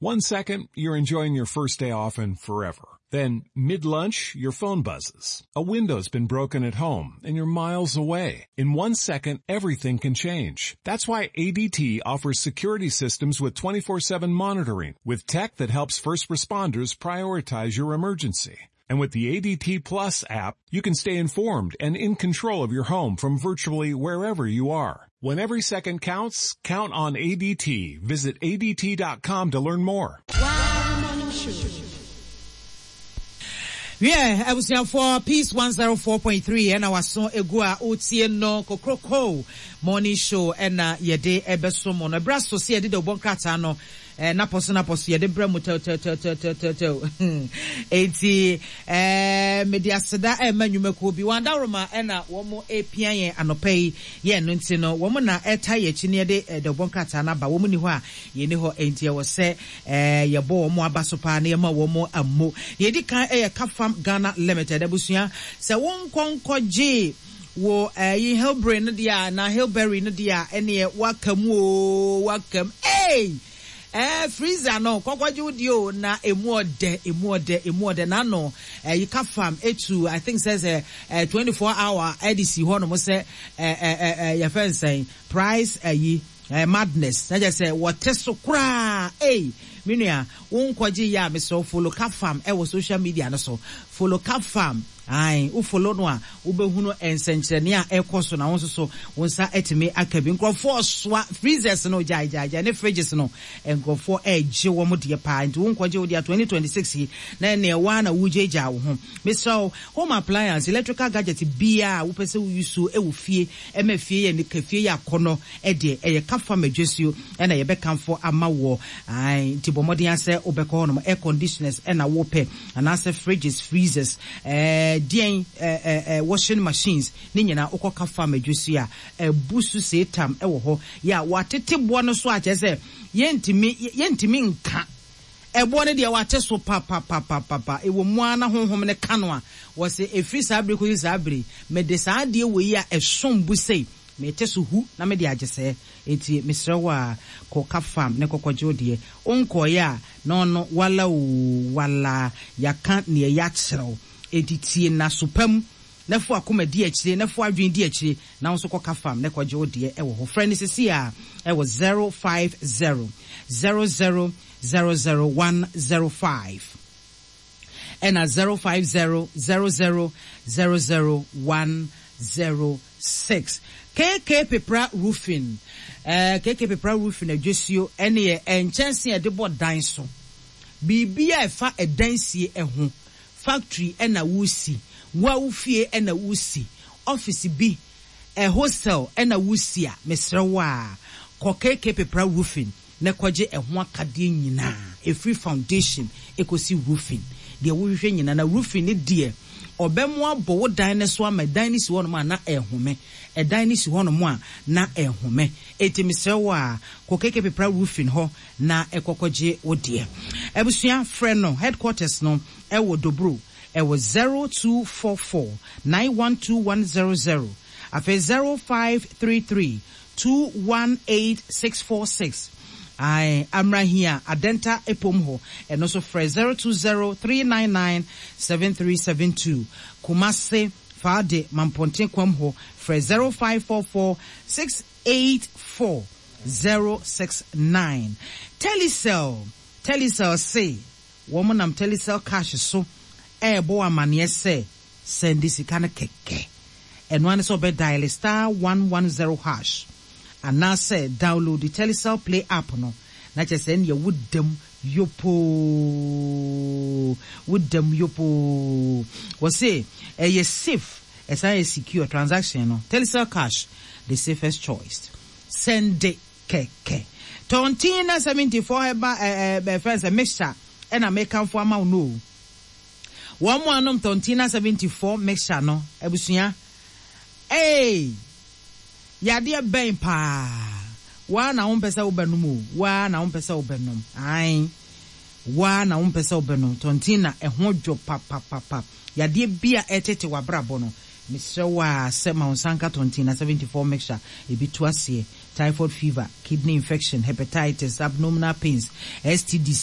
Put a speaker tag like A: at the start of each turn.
A: One second, you're enjoying your first day off and forever. Then, mid-lunch, your phone buzzes. A window's been broken at home and you're miles away. In one second, everything can change. That's why ADT offers security systems with 24-7 monitoring with tech that helps first responders prioritize your emergency. And with the ADT Plus app, you can stay informed and in control of your home from virtually wherever you are. When every second counts, count on ADT. Visit ADT.com to learn more.
B: Wiɛ, abusuafoɔ, Peace 104.3 ɛna waso egu a wotie no Kokroko Morning Show ɛna yɛde ɛbɛso mo no. Ɛberɛ aso sɛ yɛde dawubɔ nkrataa no Eh, napɔ so napɔ so yɛde brɛ mo tɛwtɛwtɛwtɛwtɛw. Enti eh, mede aseda ɛma nnwumakuo bi. Wɔn adaworoma ɛna wɔn epia yɛn anɔpa yi. Yɛn no nti no, wɔn na ɛta yɛn akyi na yɛde eh, dawubɔ nkrataa no aba. Wɔn ni hɔ a, yɛn ni hɔ. Enti ɛwɔ sɛ eh, yɛbɔ wɔn aba so paa na yɛma wɔn ammo. Deɛ edi kan ɛyɛ Kafam Ghana Limited. Abusua, sɛ wo nkɔ nkɔgye wo ɛyi Hillberry no deɛ a na Hillberry no deɛ a ɛneɛ waka mu oo waka mu ei ɛɛ freezer no kɔkɔgye wo deɛ o na emu ɔdɛ emu ɔdɛ emu ɔdɛ n'ano ɛyi kafam etu I think sɛ sɛ ɛɛ 24 hour ɛde si hɔ nom sɛ ɛɛ ɛɛ ɛɛ yɛfɛ nsɛn price ɛyi ɛɛ madness na kyerɛ sɛ wɔte so koraa ei me nua wo nkɔgye yɛ a mesrɛ wo follow kafam ɛwɔ social media no so follow kafam. Ae, wo follow no a, wobɛhunu nsɛnkyerɛnne a ɛrekɔ so na wo nso so wo nsa atumi aka bi. Nkurɔfoɔ resoa freezers no, gyae gyae gyae, ne fridges no, nkurɔfoɔ regye wɔn deɛ paa. Nti wo nkɔgye wo deɛ 2026 yi, na ɛnneɛ wo ara na woregyaagyaa wo ho. Mesrɛ wo, home appliance, electrical gadget biara a wopɛ sɛ wo use wɔ fie, ɛma fie yɛ anika, fie yɛ akɔnnɔ deɛ, ɛyɛ ka fa ma dwasuo na yɛbɛkamfo ama woɔ. Ae, nti bɔ mmɔden ara sɛ wobɛkɔ hɔnom. Air conditioners na wopɛ, anaasɛ fridges, freezers, ɛɛ deɛn, ɛɛ ɛɛ washing machines, ne nyinaa wokɔ ka fa ma dwasuo a, abu so seetam wɔ hɔ. Yɛ a wɔatete boɔ no so a kyerɛ sɛ yɛntumi, yɛntumi nka. Ɛboɔ no deɛ wɔate so papapapapa. Ɛwɔ mu ara na Honhom no ka no a, wɔse, Ɛfiri saa bere kɔsi saa bere yi, mede saa adeɛ wei a ɛsom bo sei, mete so hu na mede agye sɛɛ. Enti mesrɛ wo ara, kɔ ka fam na kɔkɔgye wo deɛ. Wonkɔeɛ a, na ɔno, wala oo, wala, yɛaka deɛ yɛakyerɛ wo. Enti tie no aso pa mu, na fa w'akoma di akyire, na fa w'adwene di akyire, na wo nso kɔka fam na kɔgye wo deɛ wɔ hɔ. Frɛ no seesei ara wɔ 050 00 00 105 ɛna 050 00 00 106. KK Pepra Roofing, eh, KK Pepra Roofing adwasuo ɛne nkyɛnse a yɛde bɔ dan so. Biribi a ɛfa ɛdansie ho, factory na woresi, wo a wo fie na woresi, office bi, hostel na woresi a, mesrɛ wo a, kɔ KK Pepra Roofing na kɔgye ɛho akadeɛ nyinaa, ɛfiri foundation kɔsi roofing, deɛ wohwehwɛ nyinaa. Na roofing no deɛ, ɔbɛmo abɔ wo dan no so ama dan no si hɔnom a na ɛrehome, ɛdan no si hɔnom a na ɛrehome. Enti mesrɛ wo a, kɔ KK Pepra Roofing hɔ na kɔ kɔgye wo deɛ. Abusua, frɛ no, headquarters no wɔ Dobro, ɛwɔ 0244 912100, afei 0533 218646, ae, Amrahia, Adenta Epom hɔ, ɛno nso frɛ 020399 7372, Kumase, Faade, Mampɔnten Kwam hɔ, frɛ 0544 684 069. Telecel, Telecel se wɔn nam Telecel Cash so ɛrebɔ wo amaneɛ sɛ sɛnde sika no kɛkɛ. Ɛno ara ne sɛ wobɛ diale star 110 hash anaasɛ download Telecel Play app no na kyerɛ sɛ ɛnneɛ woda mu yopoo, woda mu yopoo. Wɔse ɛyɛ safe, ɛsan yɛ secure transaction no. Telecel Cash, the safest choice. Sɛnde kɛkɛ. Tɔntin na 74 herbal ɛɛ ɛɛ fɛn sɛ mixture ɛna mekamfo ama wo no o. Wɔn a nom Tontina 74 mixture no abusua eei yadeɛ bɛn paa wo ara na wompɛ sɛ wobɛnom o wo ara na wompɛ sɛ wobɛnom ae wo ara na wompɛ sɛ wobɛnom Tontina ɛho dwo papapapa yadeɛ bi a ɛtete w'abrabɔ no mesrɛ wo ara sɛ ma wo nsa nka Tontina 74 mixture ebi to aseɛ typhoid fever kidney infection hepatitis abdominal pains STDs.